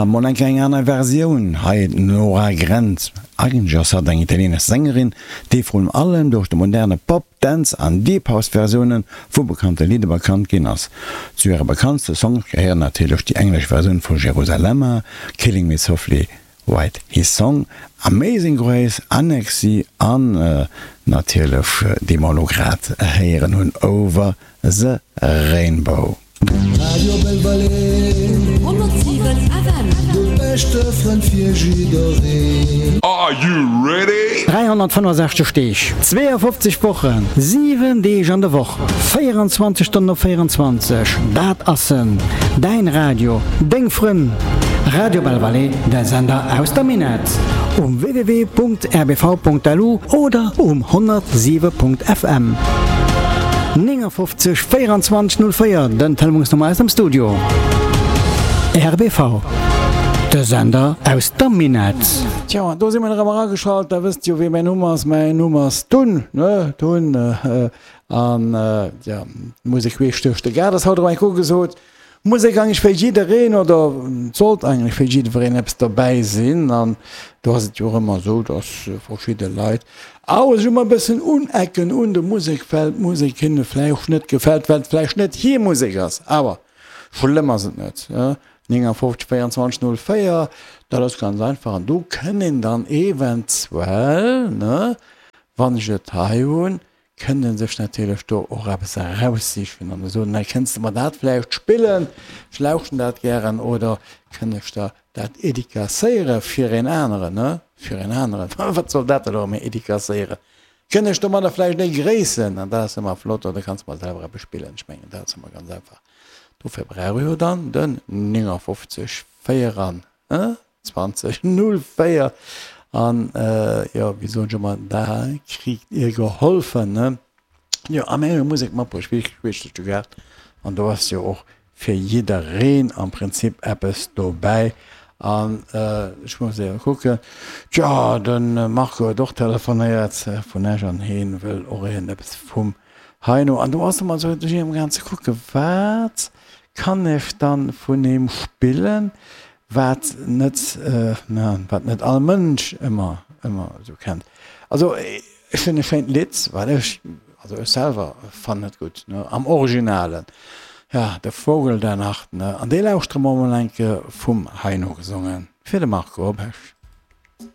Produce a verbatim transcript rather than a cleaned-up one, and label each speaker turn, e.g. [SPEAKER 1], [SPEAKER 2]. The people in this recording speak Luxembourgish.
[SPEAKER 1] mol eng eng aner Versioun, hei d'Nora Grenz. Eigentlech ass hatt eng italienesch Sängerin, déi vrun allem duerch de moderne Pop, Dance an Deep House Versioune vu bekannte Lidder bekannt ginn ass. Zu hire bekanntste Songs gehéieren natierlech déi englesch Versioun vu Jerusalema, Killing Me Softly With His Song, Amazing Grace, Annecy an natierlech déi mer elo grad héieren hunn, Over the Rainbow.
[SPEAKER 2] Radio Belval
[SPEAKER 3] honnertsiwen F M.
[SPEAKER 2] De beschte Frënd fir jiddereen.
[SPEAKER 4] Are you ready?
[SPEAKER 5] dräihonnertfënnefosechzeg Deeg, zweeënfofzeg Wochen, siwen Deeg an der Woch, véierenzwanzeg Stonnen op véierenzwanzeg, dat ass en, däin Radio, deng Frënn, Radio Belval, de Sender aus der Minett, um w w w punkt r b v punkt l u oder um honnertsiwe punkt F M. néngafofzeg véierenzwanzeg null véier, den Telefonsnummer aus dem Studio. R B V, de Sender aus der Minett.
[SPEAKER 1] Tjo, an do si mer erëm erageschalt. Da wësst jo, wéi mäin Numm ass. Mäin Numm ass Tun, ne? Tun. An, jo, d'Musek queesch duerch de Gaart ass haut erëm eng Kéier ugesot. Musek eigentlech fir jiddereen, oder et sollt eigentlech fir jiddwereen eppes dobäi sinn. An do ass et jo och ëmmer esou, dass verschidde Leit awer sech ëmmer e bëssen unecken un der Musek, well d'Musek hinne vläicht net gefält, well et vläicht net hir Musek ass. Awer schlëmm ass et net. neunundfünfzig vierundzwanzig null vier, dat ass ganz einfach. An do kënn een dann eventuell, ne, wann ech et hei hunn, kënnt en sech natierlech do och eppes eraussichen an soen, hei kënns de mer dat vläicht spillen, ech lauschten dat gären, oder kënn ech der dat edicacéiere fir een aneren, ne, fir een aneren, wat soll dat elo erëm edicacéieren, kënn ech domadder vläicht ee gréissen, an dat ass ëmmer flott, oder kanns mer selwer eppes spillen, ech mengen dat ass ëmmer ganz einfach. Dofir brauch ech jo dann den neunundfünfzig vierundzwanzig null vier an, jo, wéi soen ech ëmmer, da kritt Dir geholfen, ne? Jo, a mir hu jo Musek matbruecht, wéi queesch duerch de Gaart, an do ass jo och fir jiddereen am Prinzip eppes dobäi. An ech muss éiwer kucken, tjo, de Marco huet och telefonéiert vun Esch an heen wëll och iergend eppes vum Heino. An do ass ëmmer esou, do si ech amgaang ze kucken, wat kann ech dann vun him spillen, wat net, wat net all Mënsch ëmmer, ëmmer esou kennt. Also ech hunn e schéint Lidd, wat ech, also ech selwer fannen et gutt, ne, am Originalen, ja, De Vogel der Nacht, ne, an dee lauschtere mer mol eng Kéier vum Heino gesongen, fir de Marco op Esch.